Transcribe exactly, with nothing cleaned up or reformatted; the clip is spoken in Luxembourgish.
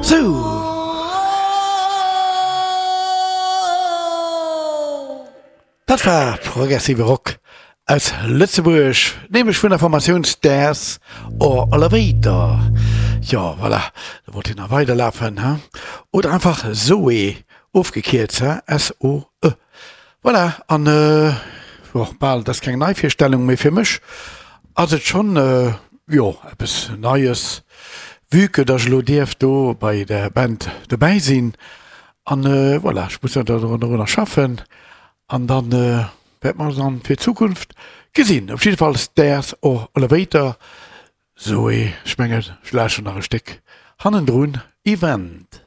Sou. Dat war progressive Rock aus Lëtzebuerg, nämlech vun der Formatioun Stairs or Elevator. Jo, voilà, da wollt hien nach weiderlafen, he? Oder einfach Zoe, ofgekierzt, he? S-O-E. Voilà, an jo, bal, dat ass keng Neivirstellung, mee fir mech ass et schonn, jo, eppes Neies, vue que dass ech elo dierf do bei der Band dobäi sinn. An voilà, ech muss dorunner schaffen an dann wäerte mer dann fir d'Zukunft gesinn. Op jidde Fall Stairs or Elevator, Zoé, ech mengen, ech lauschteren nach e Stéck hannendrun, Event.